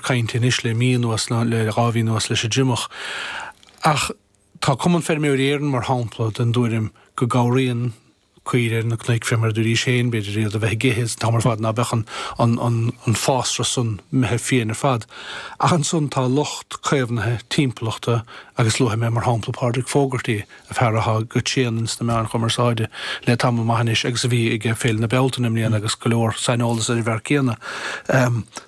cainte anois le mí anuas, nó le 2 mhí anuas leis an dtriomach. Ach tá Cumann Feirmeoirí Éireann, mar shampla, den dtuairim go gcabhraíonn caoire ar na cnoic, fé mar a dúraís féin, b'fhéidir iad a bheith ag ithe an t-am ar fad ná beadh an, an, an fásra san imithe fiain ar fad. Ach ansan tá lucht caomhnaithe timpeallachta agus luafaidh mé mar shampla Pádraig Fogarty, an fear athá go tréan ins na meáin chumarsáide le tamall maith anois agus a bhí ag Féile na Bealtaine i mbliana agus go leor saineolas ar an bhfear céanna.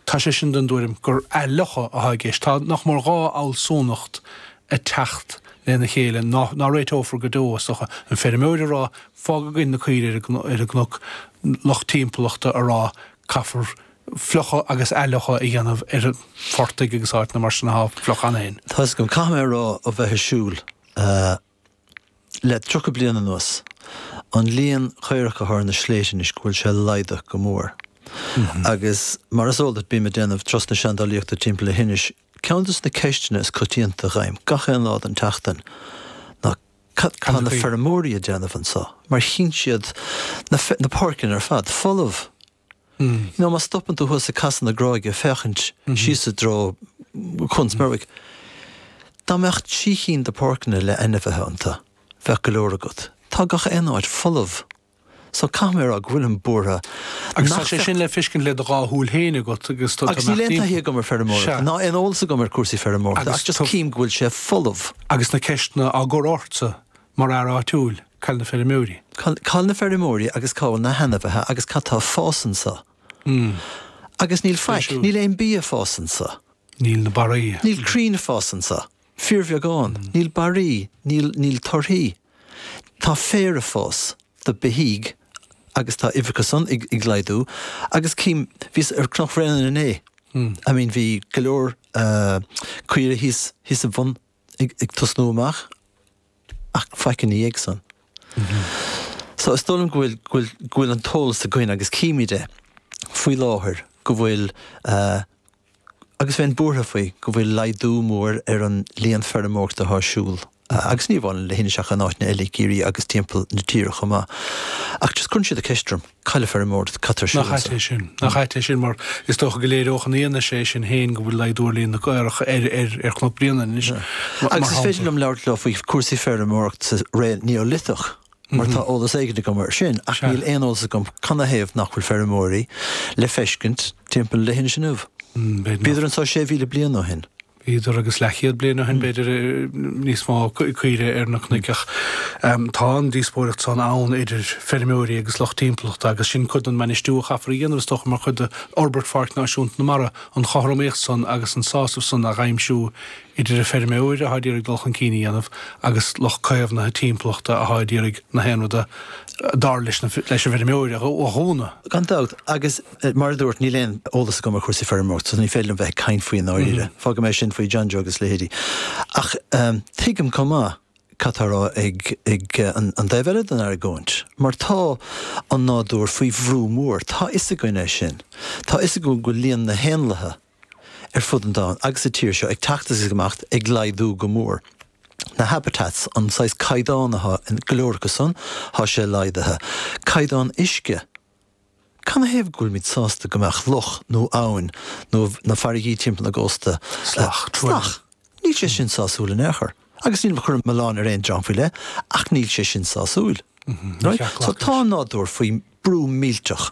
Tá sé sin den dtuairim gur athfhliuchadh athá i gceist. Tá nach mór 2 fhealsúnacht ag teacht lena chéile ná réiteofar go deo, is dócha. An feirmeoir ag rá, fág againn na caoirigh ar an gcnoc, lucht timpeallachta ag rá, caithfear fliuchadh agus athfhliuchadh a dhéanamh ar phortaigh agus áiteanna mar sin athá fliuch cheana féin. Tá 'fhios agam, caithfidh mé a rá ó bheith ag siúl le 30 bliain anuas, an líon caorach atá ar na sléibhte anois go bhfuil sé laghdaithe go mór. Agus mar is eol duit bím ag déanamh turas na seandálaíochta timpeall le hInis Ceann de na ceisteanna is coitianta a fhaighim gach aon lá den tseachtain ná cad tá na feirmeoirí ag déanamh anseo mar chíonn siad na na páirceanna ar fad folamh. You know má stopann tú thuas ag Casadh na Gráige ag féachaint síos i dtreo Cuan Smerwick, dá mbeadh trí chinn de páirceanna le ainmhithe iontu, bheadh go leor agat. Tá gach aon áit folamh. So caithfidh mé a rá go bhfuilim buartha Agus tá sé sin le feiscint le do dhá shúil féin agat agus tú Agus níl aon taithí agam ar feirmeoireacht, ná aon eolas agam ar cúrsaí feirmeoireachta, ach just cím go bhfuil sé folamh. Agus na ceisteanna á gcur ortsa mar fhear áitiúil, cá bhfuil na feirmeoirí? Cá bhfuil na feirmeoirí agus cá bhfuil na hainmhithe agus cad tá ag fás anseo? Agus níl faic, níl aon bia ag fás anseo. Níl na barraí. Níl crainn ag fás anseo. Fíorbheagán. Níl barraí, níl, níl torthaí. Tá féar ag fás do beithígh agus tá uimhreacha san ag, ag laghdú agus cím, bhíos ar Cnoc Bhréanainn inné, I mean bhí go leor caoire thíos, thíos an bhun ag, ag tosnú amach ach faic ina dhiaidh san. So is dóigh liom go bhfuil, go bhfuil, go bhfuil an t-eolas againn agus címid é faoi láthair go bhfuil eh, Agus bheinn buartha faoi go bhfuil laghdú mór ar an líon feirmeoireachta atá ar siúl, agus ní amháin le hInis ach in áiteanna eile i gCiarraí agus timpeall na tíre chomh maith. Ach just cuireann siad an ceist orm, cá bhfuil an feirmeoireacht, cad tá ar siúl Nach ait é sin? Nach ait é sin mar is dócha go léireodh an fhianaise é sin féin go bhfuil laghdú ar líon na gcaorach ar ar Chnoc Bréanainn anois, mar Agus is féidir liom labhairt leo faoi chúrsaí feirmeoireachta sa ré Neoliteach. mar tá eolas éigin agam air sin, ach níl aon eolas agam canathaobh nach bhfuil feirmeoirí le feiscint timpeall leithinis inniu. Bhíodar anseo 6,000 bliain ó shin. Bhíodar agus leathchéad bliain ó shin, b'fhéidir, níos mó caoire ar na cnoic ach tá an díospóireacht san ann idir feirmeoirí agus lucht timpeallachta agus sin cuid den mbainistiú a chaithfear a dhéanamh is dócha mar chuid d'fhorbairt Pháirc Náisiúnta na Mara, an chothromaíocht san agus an sásamh san a dh'aimsiú idir an feirmeoir atá ag iarraidh dul chun cinn a dhéanamh agus lucht caomhnaithe timpeallachta atá ag iarraidh na haon ruda dar leis an bhfeirmeoir a dhúnadh. Gan dabht, agus mar a dúirt, níl aon eolas agam ar chúrsaí feirmeoireachta so ní féidir liom bheith ag caint faoi i ndáiríre. Fágfaidh mé sin faoi John Joe agus leithéidí. Ach tuigim chomh maith cad tá á rá ag an dtaobh eile den argóint, mar tá an nádúr faoi bhrú mór, tá fhios againn é sin. Tá fhios againn go bhfuil líon na héanlaithe, ar fud an domhain agus sa tír seo ag teacht agus ag imeacht, ag laghdú go mór. Na habitats, an saghas caighdeán atá in go leor acu san, tá sé laghdaithe. Caighdeán uisce. Canathaobh go bhfuilimid sásta go mbeadh loch nó abhainn nó na farraigí timpeall na gcósta Salach, salach? Níl sé sin sásúil in aon chor. Agus nílim ag cur an milleán ar aon dream faoi leith, ach níl sé sin sásúil. Right? So tá an nádúr faoi brú millteach.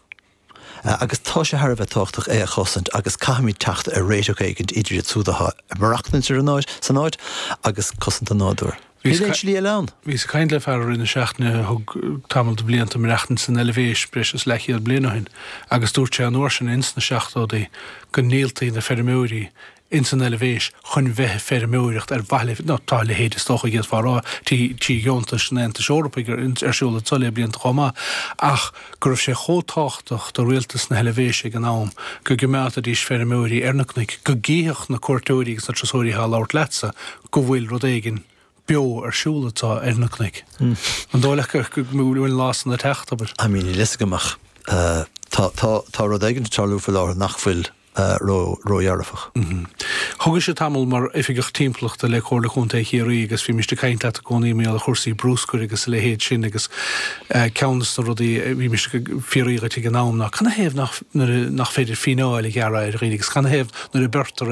Agus tá sé thar a bheith tábhachtach é a chosaint agus caithfimid teacht ar réiteach éigin idir iad siúd atá ag maireachtaint ar an áit, san áit agus cosaint an nádúir. Níl aon slí eile ann. Bhíos ag caint le fear i rith na seachtaine a thug tamall de bhlianta ag maireachtaint san Eilvéis breis is leathchéad bliain ó shin agus dúirt sé an uair sin ins na seachtóidí go ndíoltaí na feirmeoirí ins an Eilvéis chun bheith ag feirmeoireacht ar mhaithe le, nó tá a leithéid is dócha d'fhéadfá a rá, trí dheontais an Aontais Eorpaigh ar siúl anso le blianta chomh maith, ach go raibh sé chomh tábhachtach do rialtas na hEilvéise ag an am go gcoimeádfaidís feirmeoirí ar na cnoic, go gcífeadh na cuairteoirí agus na turasóirí atá ag labhairt leatsa go bhfuil rud éigin beo ar siúl anso ar na cnoic. An dóigh leat go bhfuil an lá san ag teacht, abair? I mean, níl fhios agam ach tá, tá, tá rud éigin ag tarlú faoi láthair nach bhfuil ró-dhearfach. Thugais tamall mar Oifigeach Timpeallachta le Comhairle Contae Chiarraí agus bhímist ag caint leat i gcónaí mar gheall ar chúrsaí brúscair agus a leithéid sin agus ceann de na rudaí a bhímist ag fiafraí dhuit ag an am ná canathaobh nach, nach féidir fíneáil a ghearradh ar dhaoine agus canathaobh nuair a beirtear.